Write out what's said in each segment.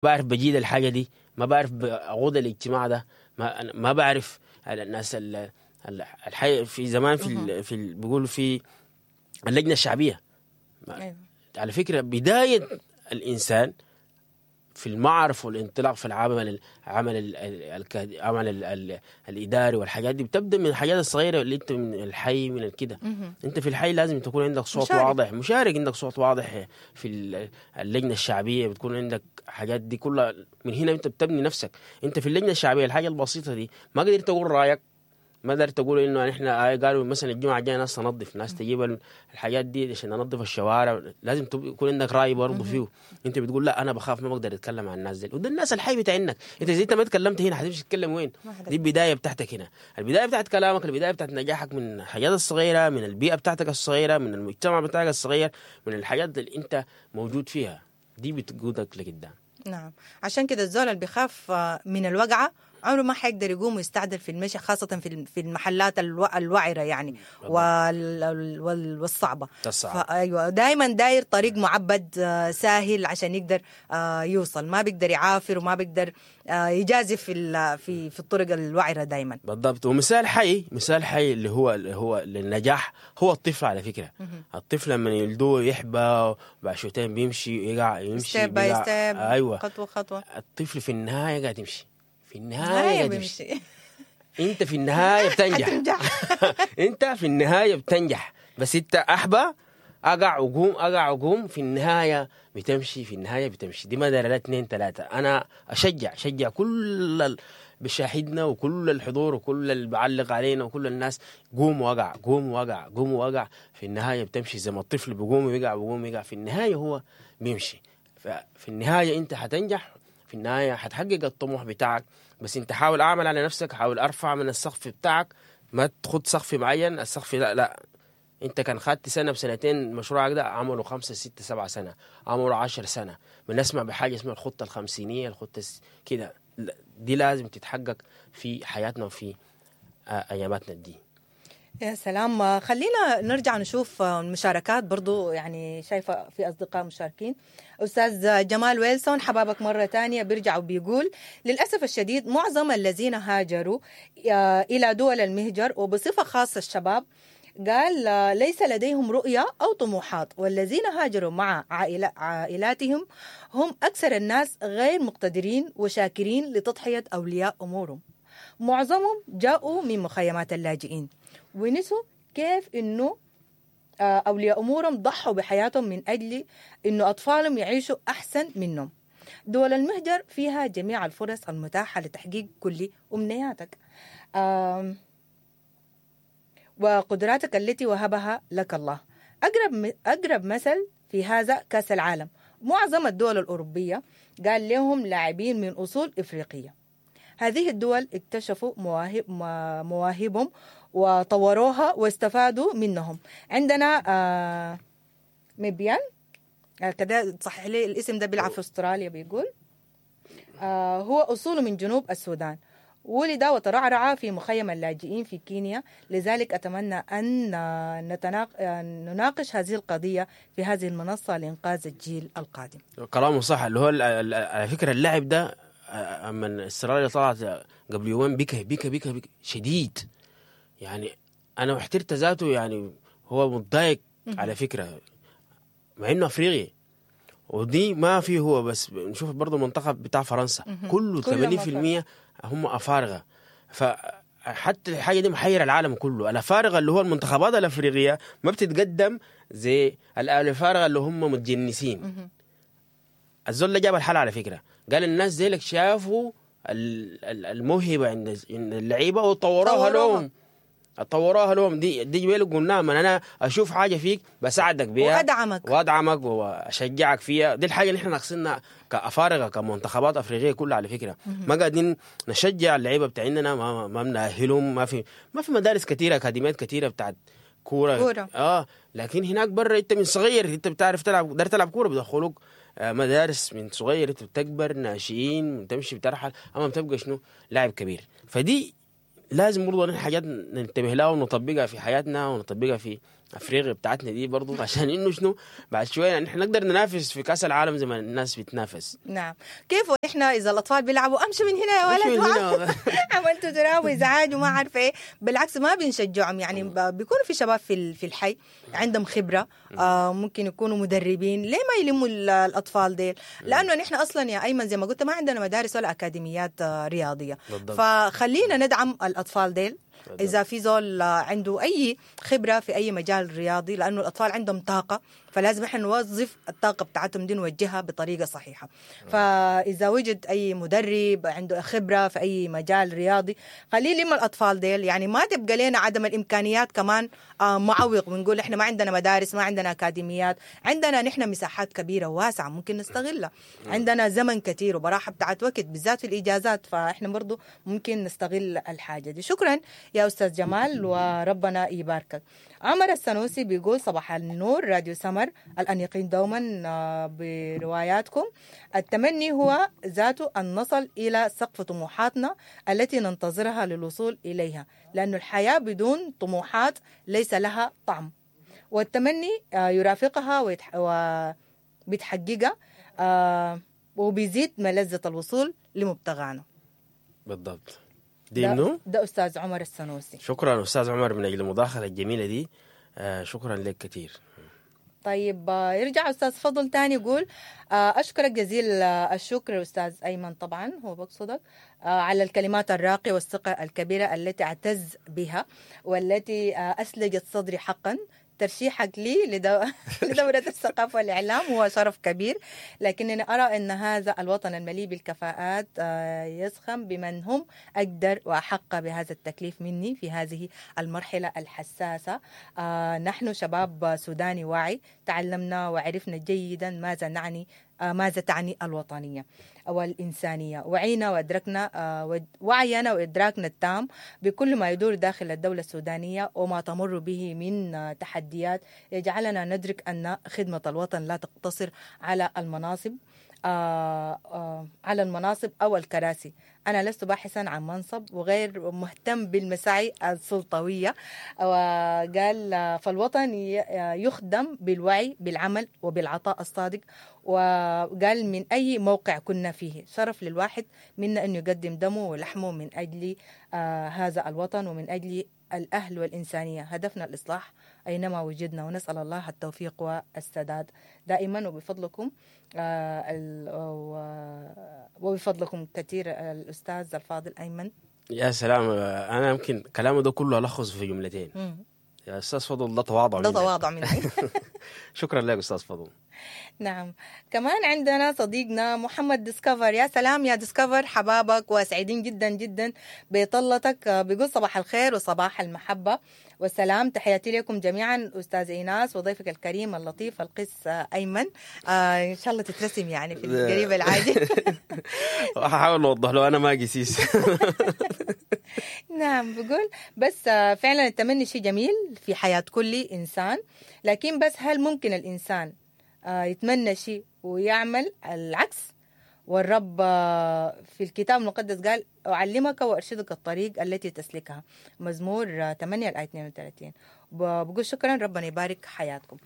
بعرف بجيد الحاجة دي، ما بعرف اقود الاجتماع ده، ما بعرف الناس الحي في زمان في بيقولوا في اللجنة الشعبية. على فكرة بداية الانسان في المعرفة والانطلاق في العمل العمل الاداري والحاجات دي بتبدا من الحاجات الصغيرة اللي انت من الحي من كده. انت في الحي لازم تكون عندك صوت مشارك. واضح، مشارك، عندك صوت واضح في اللجنة الشعبية، بتكون عندك حاجات دي كلها. من هنا انت بتبني نفسك. انت في اللجنة الشعبية الحاجة البسيطة دي ما قدرت تقول رايك، ما قدرت تقول انه احنا قالوا مثلا الجمعة الجاية ناس تنظف، ناس تجيب الحاجات دي عشان ننظف الشوارع، لازم يكون عندك راي برضه فيه. انت بتقول لا انا بخاف ما بقدر اتكلم عن الناس دي، وده الناس الحي بتاعك. انت اذا انت ما تكلمت هنا حتمشي تتكلم وين؟ دي البداية بتاعتك هنا، البداية بتاعت كلامك، البداية بتاعت نجاحك من الحاجات الصغيرة، من البيئة بتاعتك الصغيرة، من المجتمع بتاعك الصغير، من الحاجات اللي انت موجود فيها دي بتقودك لقدام. نعم، عشان كده الزول اللي بيخاف من الوقعة عمره ما حيقدر يقوم ويستعدل في المشي، خاصة في المحلات الوعرة يعني والصعبة. أيوة، دايما داير طريق معبد ساهل عشان يقدر يوصل، ما بيقدر يعافر وما بيقدر يجازف في الطرق الوعرة دايما. بالضبط. ومثال حي، مثال حي اللي هو للنجاح هو الطفل على فكرة. الطفل لما يلدوه يحبى بعد شويتين بيمشي يقع، يمشي step by step. أيوة، خطوة خطوة. الطفل في النهاية قاعد يمشي، في النهاية بيمشي. انت في النهاية بتنجح. انت في النهاية بتنجح، بس انت احبى اقع وقوم، اقع وقوم، في النهاية بتمشي، في النهاية بتمشي. دي ما دار لا 2 3. انا اشجع كل بشاهدنا وكل الحضور وكل اللي بعلق علينا وكل الناس، قوم وقع، قوم وقع، قوم وقع، في النهاية بتمشي. زي ما الطفل بيقوم ويقع، بيقوم ويقع، في النهاية هو بيمشي. ففي النهاية انت حتنجح، في النهاية حتحقق الطموح بتاعك. بس انت حاول اعمل على نفسك، حاول ارفع من السقف بتاعك، ما تخد سقف معين، السقف لا لا، انت كان خدت سنة بسنتين مشروعك ده عملوا 5 6 7 سنة، عملوا 10 سنة. بنسمع بحاجة اسمها الخطة الخمسينية، الخطة كده، دي لازم تتحقق في حياتنا وفي اياماتنا دي. يا سلام. خلينا نرجع نشوف المشاركات برضو، يعني شايفة في أصدقاء مشاركين. أستاذ جمال ويلسون حبابك مرة تانية، بيرجع وبيقول للأسف الشديد معظم الذين هاجروا إلى دول المهجر وبصفة خاصة الشباب، قال ليس لديهم رؤية أو طموحات، والذين هاجروا مع عائلاتهم هم أكثر الناس غير مقتدرين وشاكرين لتضحية أولياء أمورهم. معظمهم جاءوا من مخيمات اللاجئين ونسوا كيف إنه أولياء أمورهم ضحوا بحياتهم من أجل إنه أطفالهم يعيشوا أحسن منهم. دول المهجر فيها جميع الفرص المتاحة لتحقيق كل أمنياتك وقدراتك التي وهبها لك الله. أقرب مثل في هذا كأس العالم، معظم الدول الأوروبية قال لهم لاعبين من أصول إفريقية. هذه الدول اكتشفوا مواهبهم وطوروها واستفادوا منهم. عندنا مبيان كده، صحح لي الاسم ده، بيلعب في استراليا، بيقول هو أصوله من جنوب السودان، ولد وترعرع في مخيم اللاجئين في كينيا، لذلك أتمنى أن نناقش هذه القضية في هذه المنصة لإنقاذ الجيل القادم. كلامه صح. اللي هو على فكرة اللاعب ده من استراليا طلعت قبل يومين بكى بكى بكى بكى شديد، يعني أنا احترت ذاته، يعني هو متضايق على فكرة مع إنه أفريقي، ودي ما فيه هو بس. نشوف برضو المنتخب بتاع فرنسا كله 80% هم أفارقة، فحتى الحاجة دي محيرة العالم كله. الأفارقة اللي هو المنتخبات الأفريقية ما بتتقدم زي الأفارقة اللي هم متجنسين. الزول اللي جاب الحالة على فكرة قال الناس زيلك شافوا الموهبة عند اللعيبة وطوروها لهم، طوروها لهم. دي جبالك قلناها، من أنا أشوف حاجة فيك بساعدك بيها وأدعمك وأشجعك فيها. دي الحاجة اللي إحنا ناقصينها كأفارقة كمنتخبات أفريقية كلها على فكرة. ما قاعدين نشجع اللعيبة بتاعنا، ما بنأهلهم، ما في مدارس كثيرة، أكاديميات كثيرة بتاعت كورة. لكن هناك برا أنت من صغير أنت بتعرف تلعب، دار تلعب كورة، بدخلوك مدارس من صغير، أنت بتكبر ناشئين، بتمشي بترحل، أما بتبقى شنو لاعب كبير. فدي لازم برضه نحن حاجات ننتبه لها ونطبقها في حياتنا ونطبقها في افريقيا بتاعتنا دي برضو، عشان انه شنو بعد شوية نحن نقدر ننافس في كاس العالم زي ما الناس بتنافس. نعم، كيف احنا اذا الاطفال بيلعبوا امشي من هنا يا ولد، من هنا. عملتوا تراب وازعاج وما عارفه ايه، بالعكس ما بنشجعهم يعني. بيكونوا في شباب في الحي عندهم خبره، ممكن يكونوا مدربين، ليه ما يلموا الاطفال ديل؟ لانه نحن اصلا يا ايمن زي ما قلت ما عندنا مدارس ولا اكاديميات رياضية. بالضبط. فخلينا ندعم الاطفال ديل. اذا في زول عنده اي خبره في اي مجال رياضي، لانه الاطفال عندهم طاقة، فلازم احنا نوظف الطاقة بتاعتهم دي نوجهها بطريقة صحيحه. فاذا وجد اي مدرب عنده خبره في اي مجال رياضي خليه يلم الاطفال ديل، يعني ما تبقى لنا عدم الامكانيات كمان معوق ونقول احنا ما عندنا مدارس، ما عندنا اكاديميات. عندنا نحن مساحات كبيرة واسعة ممكن نستغلها، عندنا زمن كثير وبراحه بتاعت وقت بالذات في الاجازات، فاحنا برضو ممكن نستغل الحاجة دي. شكرا يا استاذ جمال وربنا يباركك. عمر السنوسي بيقول صباح النور راديو سمر الأنيقين دوما برواياتكم. التمني هو ذاته أن نصل إلى سقف طموحاتنا التي ننتظرها للوصول إليها، لأن الحياة بدون طموحات ليس لها طعم، والتمني يرافقها وبتحققها وبيزيد ملذة الوصول لمبتغانا. بالضبط. دي منو؟ ده أستاذ عمر السنوسي. شكرا أستاذ عمر من أجل المداخلة الجميلة دي، شكرا لك كثير. طيب يرجع أستاذ فضل تاني يقول أشكرك جزيل الشكر أستاذ أيمن، طبعا هو بقصدك، على الكلمات الراقية والثقة الكبيرة التي أعتز بها والتي أسلجت صدري حقا. ترشيحك لي لدورة الثقافة والإعلام هو شرف كبير، لكنني أرى أن هذا الوطن المليء بالكفاءات يزخم بمن هم أقدر وأحق بهذا التكليف مني في هذه المرحلة الحساسة. نحن شباب سوداني واعي، تعلمنا وعرفنا جيدا ماذا نعني، ماذا تعني الوطنية والإنسانية، وعينا وأدركنا وعينا وإدراكنا التام بكل ما يدور داخل الدولة السودانية وما تمر به من تحديات يجعلنا ندرك أن خدمة الوطن لا تقتصر على المناصب، على المناصب أو الكراسي. أنا لست باحثا عن منصب وغير مهتم بالمساعي السلطوية. وقال فالوطن يخدم بالوعي بالعمل وبالعطاء الصادق. وقال من أي موقع كنا فيه شرف للواحد منا أن يقدم دمه ولحمه من أجل هذا الوطن ومن أجل الأهل والإنسانية. هدفنا الإصلاح أينما وجدنا، ونسأل الله التوفيق والسداد دائما. وبفضلكم وبفضلكم كثير الأستاذ الفاضل أيمن. يا سلام، أنا يمكن كلامه ده كله ألخص في جملتين. يا أستاذ فضل ده تواضع، ده تواضع مني. شكرا لك أستاذ فضل. نعم، كمان عندنا صديقنا محمد ديسكفر. يا سلام يا ديسكفر، حبابك وسعيدين جدا جدا بطلتك. بيقول صباح الخير وصباح المحبة والسلام، تحياتي لكم جميعا أستاذ إيناس وضيفك الكريم اللطيف القس أيمن. إن شاء الله تترسم يعني في القريب العاجل. هحاول أوضح له أنا ما قسيس. نعم، بقول بس فعلا التمني شيء جميل في حياة كل إنسان، لكن بس هل ممكن الإنسان يتمنى شيء ويعمل العكس؟ والرب في الكتاب المقدس قال أعلمك وأرشدك الطريق التي تسلكها، مزمور 8 الآية 32. بقول شكرا، ربنا يبارك حياتكم.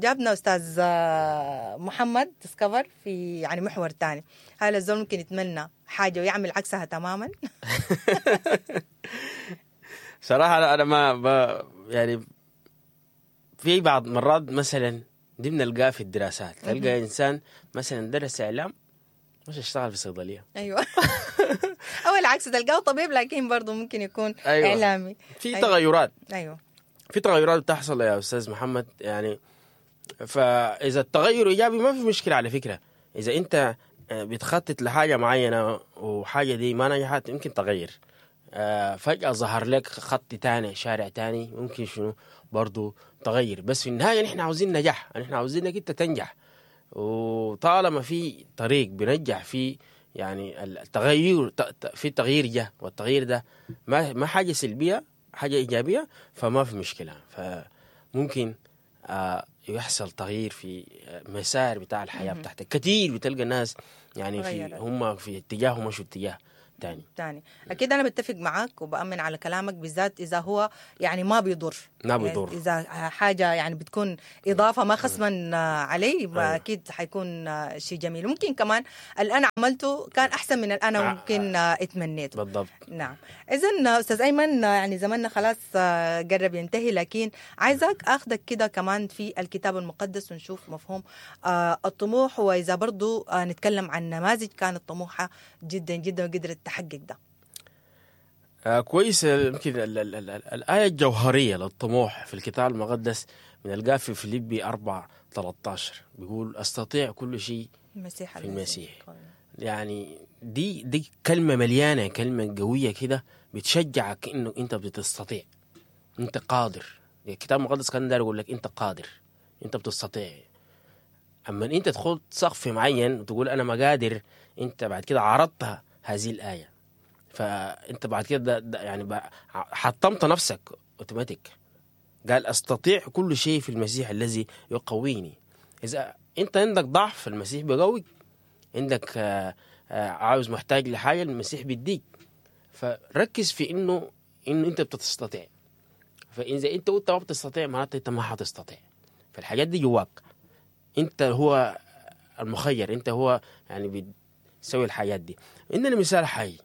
جابنا أستاذ محمد ديسكفر في يعني محور تاني. هل الزول ممكن يتمنى حاجة ويعمل عكسها تماما؟ صراحة أنا ما يعني في بعض مرات مثلا دي بنلقاها في الدراسات، تلقى إنسان مثلا درس إعلام مش اشتغل في صيدلية. أيوة. أو العكس، تلقاه طبيب لكن برضه ممكن يكون أيوة. إعلامي. في أيوة. تغيرات. أيوة، في تغيرات بتحصل يا أستاذ محمد يعني. فإذا التغير إيجابي ما في مشكلة على فكرة. إذا أنت بتخطط لحاجة معينة وحاجة دي ما نجحت يمكن تغير. فجأة ظهر لك خط تاني، شارع تاني، ممكن شنو برضو تغير. بس في النهاية نحن عاوزين نجاح، نحن عاوزين انك انت تنجح. وطالما في طريق بنجح فيه يعني التغير، في تغيير جه، والتغيير ده ما حاجة سلبية، حاجة إيجابية، فما في مشكلة. فممكن يحصل تغيير في مسار بتاع الحياة بتاعتك. كثير بتلقى الناس يعني في هم في اتجاه ومشوا اتجاه تاني. أكيد أنا بتفق معك وبأمن على كلامك، بالذات إذا هو يعني ما بيضر. ما بيضر. يعني اذا حاجة يعني بتكون اضافه ما خصما علي، أيوة. اكيد حيكون شيء جميل. ممكن كمان اللي انا عملته كان احسن من اللي انا ممكن اتمنيته. بالضبط. نعم. اذا استاذ ايمن، يعني زماننا خلاص قرب ينتهي، لكن عايزك اخذك كده كمان في الكتاب المقدس ونشوف مفهوم الطموح، واذا برضو نتكلم عن نماذج كانت طموحه جدا جدا وقدرت تحقق ده. كويس. يمكن الآية الجوهرية للطموح في الكتاب المقدس بنلقاها في فيليبي 4:13، بيقول أستطيع كل شيء المسيح في المسيح. يعني دي كلمة مليانة، كلمة قوية كده بتشجعك إنه أنت بتستطيع، أنت قادر. الكتاب المقدس كان داير يقول لك أنت قادر، أنت بتستطيع. أما أنت تدخل سقف معين وتقول أنا ما قادر، أنت بعد كده عرضتها هذه الآية، فانت بعد كده يعني حطمت نفسك اوتوماتيك. قال استطيع كل شيء في المسيح الذي يقويني. اذا انت عندك ضعف المسيح بيقويك، عندك عاوز محتاج لحاجة المسيح بيديك. فركز في انه انت بتستطيع. فاذا انت قلت ما بتستطيع معناته انت ما حتستطيع. فالحاجات دي جواك، انت هو المخير، انت هو يعني بتسوي الحاجات دي. عندنا مثال حي،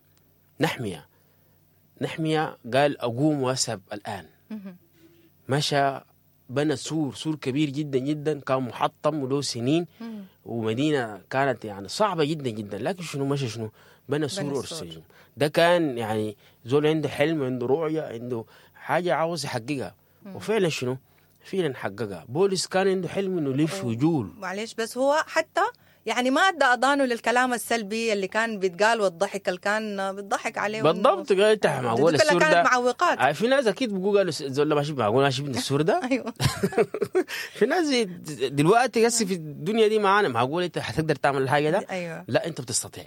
نحمية قال أقوم وأذهب الآن. مشى بنى سور كبير جدا جدا، كان محطم وله سنين، ومدينة كانت يعني صعبة جدا جدا، لكن شنو مشى شنو بنى سور أورشليم. ده كان يعني زول عنده حلم، عنده رؤية، عنده حاجة عاوز يحققها، وفعلا شنو فعلا حققها. بولس كان عنده حلم إنه يلف ويجول. معلش بس هو حتى يعني ما ادى اذانه للكلام السلبي اللي كان بيتقال والضحك اللي كان بيضحك عليه. بالضبط. قال انت معقول السور ده معوقات. في ناس اكيد بيقولوا قالوا زول ماشي معقول ماشي السور ده. ايوه. في ناس دلوقتي هسه في الدنيا دي معانا معقول انت حتقدر تعمل الحاجة ده؟ ايوه. لا انت بتستطيع.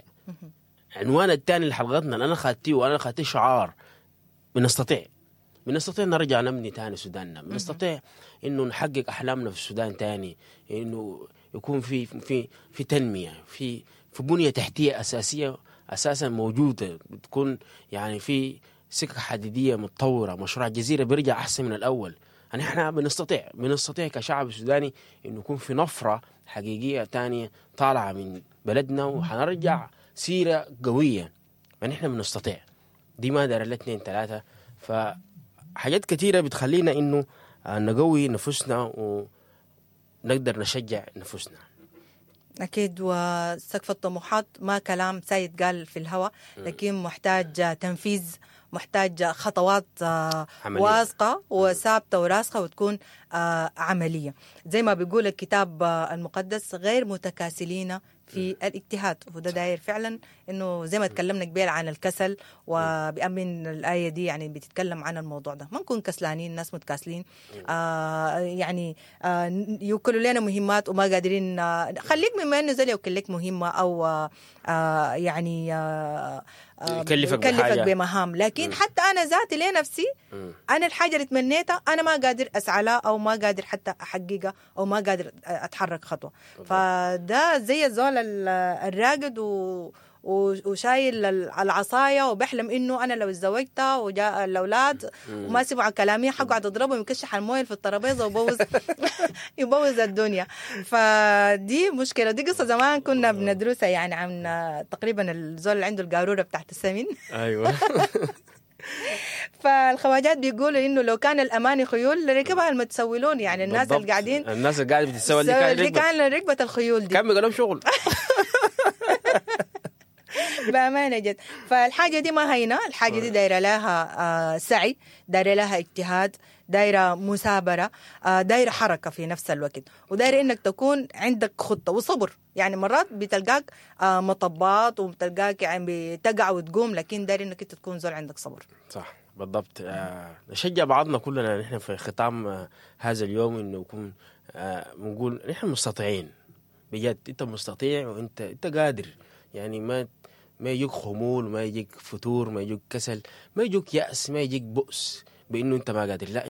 عنوان الثاني لحلقتنا انا خدتيه، وانا خدتيه شعار، بنستطيع. بنستطيع نرجع نبني تاني سوداننا، بنستطيع انه نحقق احلامنا في السودان تاني، انه يكون في في في تنمية، في بنيه تحتيه اساسية اساسا موجودة، بتكون يعني في سكة حديديه متطورة، مشروع الجزيرة بيرجع احسن من الاول. يعني احنا بنستطيع كشعب سوداني انه يكون في نفره حقيقية تانية طالعه من بلدنا، وحنرجع سيره قوية. يعني احنا بنستطيع، دي ما دار الا 2 3. فحاجات كثيرة بتخلينا انه نقوي نفسنا و نقدر نشجع نفسنا. أكيد. وسقف الطموحات ما كلام سيد قال في الهوى، لكن محتاج تنفيذ، محتاج خطوات واثقة وثابتة وراسخة وتكون عملية. زي ما بيقول الكتاب المقدس، غير متكاسلين في الاجتهاد. وده داير فعلا انه زي ما تكلمنا قبل عن الكسل، وبأمن الآية دي يعني بتتكلم عن الموضوع ده. ما نكون كسلانين، ناس متكاسلين، يعني يوكلوا لنا مهمات وما قادرين. خليك مما انه زي يوكل لك مهمة او يعني يكلفك بمهام، لكن حتى انا ذاتي لنفسي انا الحاجة اللي تمنيتها انا ما قادر اسعى لها، او ما قادر حتى احققها، او ما قادر اتحرك خطوة. فده زي الزول الراقد وشايل العصاية وبحلم انه انا لو اتزوجت وجاء الاولاد وما سمعوا كلامي حقعد اضربهم ويكشح المويه في الترابيزة وبوظ يبوظ الدنيا. فدي مشكلة، دي قصة زمان كنا بندرسها يعني عن تقريبا الزول اللي عنده القاروره بتاعت السمين. ايوه. فالخواجات بيقولوا انه لو كان الاماني خيول لركبها المتسولون، يعني الناس اللي قاعدين، الناس اللي قاعدة بتتسول دي كان ركبه الخيول دي كان بيقولوا شغل. بأمانة جد. فالحاجة دي ما هينة، الحاجة دي دايرة لها سعي، دايرة لها اجتهاد، دايرة مثابرة، دايرة حركة في نفس الوقت، ودايرة إنك تكون عندك خطة وصبر. يعني مرات بتلقاك مطبات وبتلقاك يعني بتقع وتقوم، لكن دايرة إنك أنت تكون زول عندك صبر. صح بالضبط. نشجع بعضنا كلنا نحن في ختام هذا اليوم إنه يكون بنقول نحن مستطيعين بجد. أنت مستطيع وأنت أنت قادر، يعني ما يجيك خمول، ما يجيك فتور، ما يجيك كسل، ما يجيك يأس، ما يجيك بؤس بأنه أنت ما قادر. لا،